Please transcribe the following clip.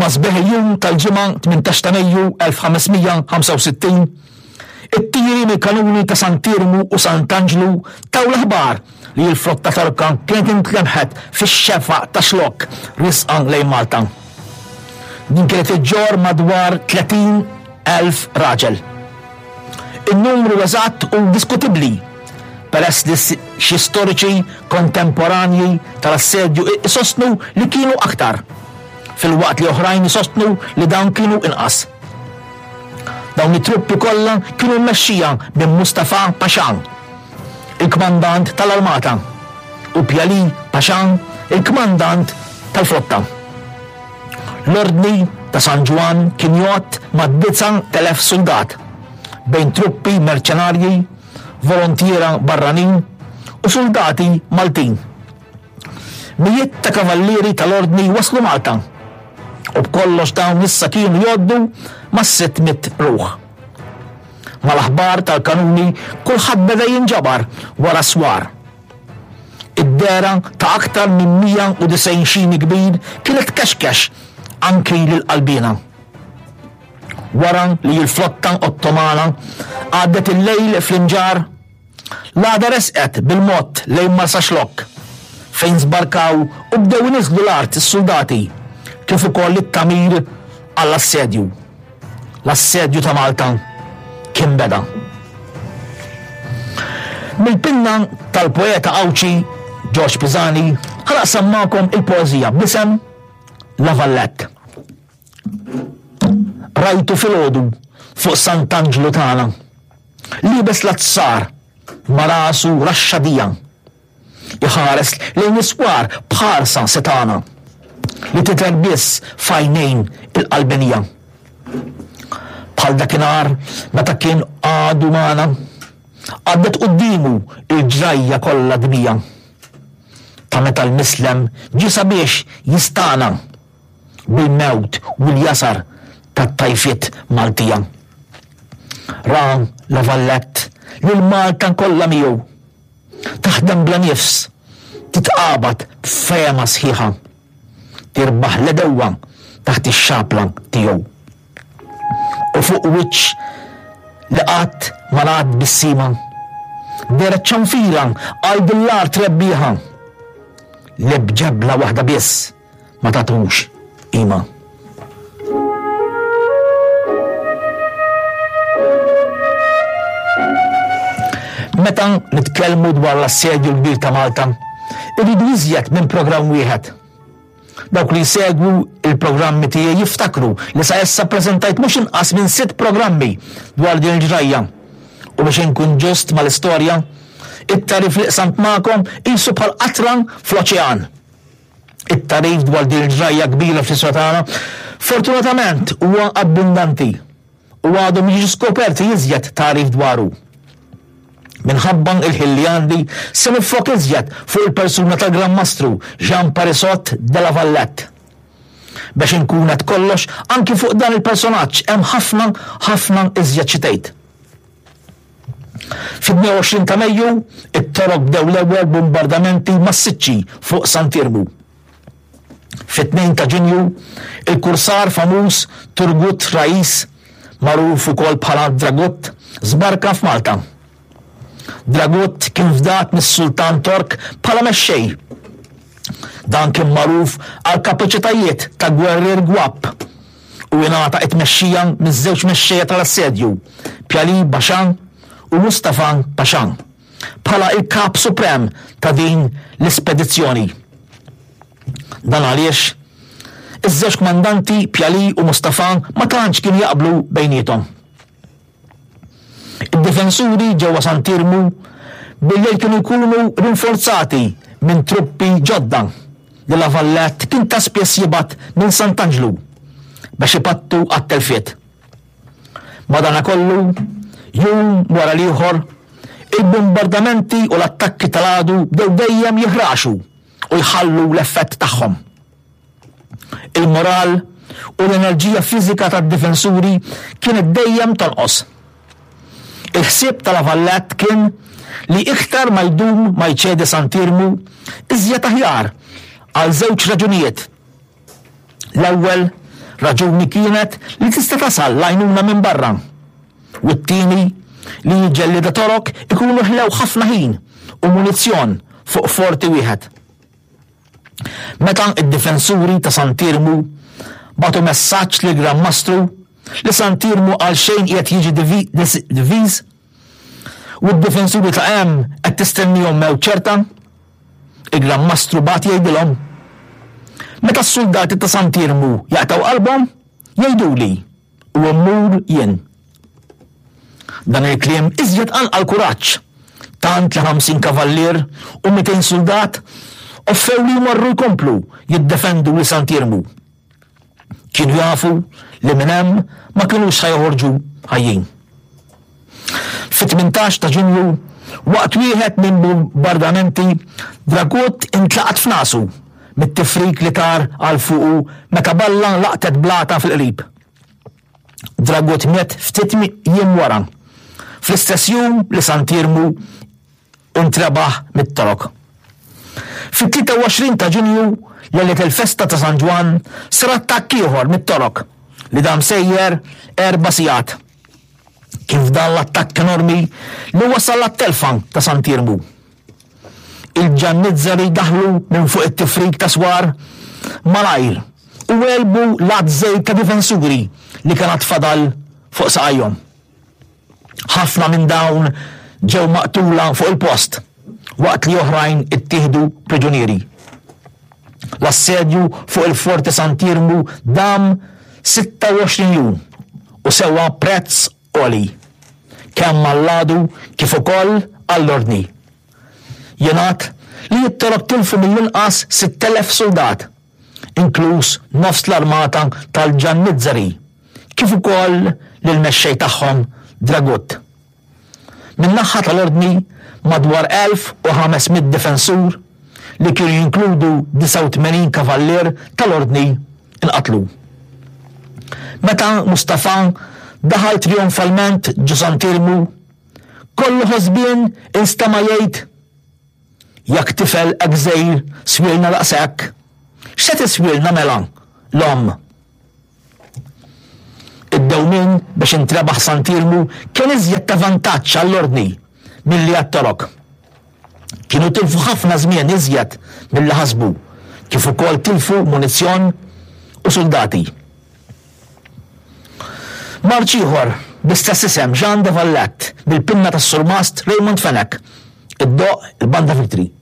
Ma' sbieħ il-jum tal-Ġimgħa 18 ta' Mejju 1565, it-tiri mill-kanuni ta' Sant'Iermu u Sant'Anġlu taw l-aħbar li l-flotta Torka kienet intlemħet fix-xefaq ta' Xlokk riesqa lejn Malta. Din kienet iġġorr madwar 30,000 raġel. In-numru eżatt hu diskutibbli peress li xi storiċi kontemporanji tal-assedju isostnu li kienu aktar, filwaqt li oħrajn isostnu li dawn kienu inqas. Dawn it-truppi kollha kienu mmexxija minn Mustafa Pasha, il-kmandant tal-armata, u Pjali Pasha, il-kmandant tal-flotta. L-Ordni ta' San Ġwann kien jgħodd mad-9,000 suldat, bejn truppi merċenarji, volontiera barranin u suldati Maltin. Mijiet ta' kavallieri tal-Ordni waslu Malta u b'kollox dawn issa kienu jgħoddu mas-600 ruħ. Mal-aħbar tal-kanuni kulħadd beda jinġabar wara s-swar. Id-dehra ta' aktar minn 190 xini kbir kienet tkexkex anki lill-qalbiena. Wara li l-flotta Ottomana għaddet il-lejl fl-Imġarr, l-għada resqet bil-mod lejn Marsaxlokk, fejn żbarkaw u bdew iniżżlu l-art is-suldati kif ukoll it-tagħmir għall-assedju. L-assedju ta' Malta kien beda. Mill-pinna tal-poeta Għawdxi Ġorġ Pisani ħa naqsam magħkom il-poeżija b'isem La Vallette. Rajtu filgħodu fuq Sant'Anġlu tagħna, liebes l-azzar ma' rasu raxxa dija. Iħares lejn is-swar b'ħarsa setgħana li tidher biss f'għajnejn il-qalbenija. Bħal dakinhar meta kien għadu magħna, għaddet quddiemu l-ġrajja kollha dmija ta' meta l-mislem ġie sabiex jistagħna bil-mewt u l-jasar tat-tajfiet Maltija. Ra La Vallette lil Malta kollha miegħu. Taħdem bla nifs, titqabad b'fehma sħiħa. Tirbaħ l-għedewwa taħt ix-xapla tiegħu. U fuq wiċċ li qatt ma ngħadd tbissima, dehret ċanfira għal din l-art rebbieħa li b'ġebla waħda biss ma tagħtux qima. Meta nitkellmu dwar l-assedju l-kbir ta' Malta, irridu iżjed minn programm wieħed. Dawk li jsegwu il-programmi tiegħi jiftakru li sa issa ppreżentajt mhux inqas minn sitt programmi dwar din il-ġrajja. U biex inkun ġust mal-istorja, it-tagħrif li qsamt magħkom qisu bħal qatra fl-oċean. It-tagħrif dwar din il-ġrajja kbira fl-istorja tagħna fortunatament huwa abbundanti u għadhom jiġu skoperti iżjed tagħrif dwaru. Minħabba il-ħin li għandi se niffoka iżjed fuq il-persuna tal-Gran Mastru Jean Parisot de la Vallette. Biex inkun qed kollox, anki fuq dan il-personaġġ hemm ħafna, ħafna iżjed xi tgħid. Fit-22 ta' Mejju, it-Torok bdew l-ewwel bombardamenti massiċċi fuq Sant'Iermu. Fit-2 ta' Ġunju, il-kursar famuż Turgut Rais, magħruf ukoll bħala Dragut, żbarka f'Malta. Dragut kien fdat mis-Sultan Tork bħala mexxej. Dan kien magħruf għal kapaċitajiet ta' gwerrier gwapp u ingħata t-tmexxija miż-żewġ mexxejja tal-assedju, Pjali Pasha u Mustafa Pasha, bħala l-kap suprem ta' din l-ispedizzjoni. Dan għaliex iż-żewġ kmandanti Pjali u Mustafa ma tantx kienu jaqblu bejniethom. Id-difensuri ġewwa Sant'Iermu bil-lejl kienu jkunu rinforzati minn truppi ġodda li La Vallette kien ta' spiss jibgħat minn Sant'Anġlu biex ipattu għat-telfiet. Madanakollu, jum wara l-ieħor, il-bumbardamenti u l-attakki tal-għadu bdew dejjem jiħraxu u jħallu l-effett tagħhom. Il-moral u l-enerġija fiżika tad-difensuri kienet dejjem tonqos. Il-ħsieb ta' La Vallette kien li iktar ma jdum ma jċedi Sant'Iermu, iżjed aħjar, għal żewġ raġunijiet. L-ewwel, Raġuni kienet li tista' tasal l-għajnuna minn barra. U t-tieni li l-ġellieda Torok ikunu ħlew ħafna ħin u munizzjon fuq forti wieħed. Meta d-difensuri ta' Sant'Iermu bagħtu messaġġ lill-Gran Mastru li Sant'Iermu għalxejn qiegħed jiġi diviż u d-difensuri ta' hemm qed tistennihom mewt ċerta, il-Gran Mastru bagħat jgħidilhom, Meta s-suldati ta' Sant'Iermu jaqtgħu qalbhom, jgħiduli u mmur jien. Dan il-kliem iżjed qanqal kuraġġ, tant li 50 kavallier u 200 suldat offew li jmorru jkomplu jiddefendu lil Sant'Iermu. Kienu jafu li minn hemm ma kinux ħa joħorġu ħajjin. Fit-18 ta' Ġunju, waqt wieħed minn bombardamenti, Dragut intlaqat f'nasu mit-tifrik li tar għal fuqu meta balla laqtet blata fil-qrib. Dragut miet ftit jiem wara, fl-istess jum li Sant'Iermu intrebaħ mit-Torok. Fit-23 ta' Ġunju, lejlet il-festa ta' San Ġwann, sar attakk ieħor mit-Torok li dam sejjer erba' sigħat. Kien f'dan l-attakk enormi li wasal għat-telfa ta' Sant'Iermu. Il-Ġannizzeri daħlu minn fuq it-tifrik ta' swar malajr u għelbu l-għadd żejt ta' difensuri li kien għad fadal fuq saqajhom. Ħafna minn dawn ġew maqtula fuq il-post waqt li oħrajn ittieħdu priġunieri. L-assedju fuq il-Forti Sant'Iermu dam 26 jum u sewa prezz għoli, kemm għall-għadu kif ukoll għall-Ordni. Jingħad li t-Torok tilfu mill-inqas 6,000 suldat, inkluż nofs l-armata tal-Ġannizzeri, kif ukoll lill-mexxej tagħhom Dragut. Min-naħa tal-Ordni, madwar 1,500 difensur, li kienu jinkludu 89 kavallier tal-Ordni, inqatlu. Meta Mustafa daħal trijonfalment ġo Sant'Iermu, kollu ħosbien instema' jgħid, Jekk tifel hekk żgħir swielna daqshekk, x'se tiswielna mela l-omm? Id-dewmien biex intrebaħ Sant'Iermu kien iżjed ta' vantaġġ għall-Ordni milli għat-Torok. Kienu tilfu ħafna żmien iżjed milli ħasbu, kif ukoll tilfu munizzjon u suldati. Marċ ieħor bl-istess isem Jean de Valette bil-pinna tas-Surmast Raymond Fenech iddoqq il-Banda Victory.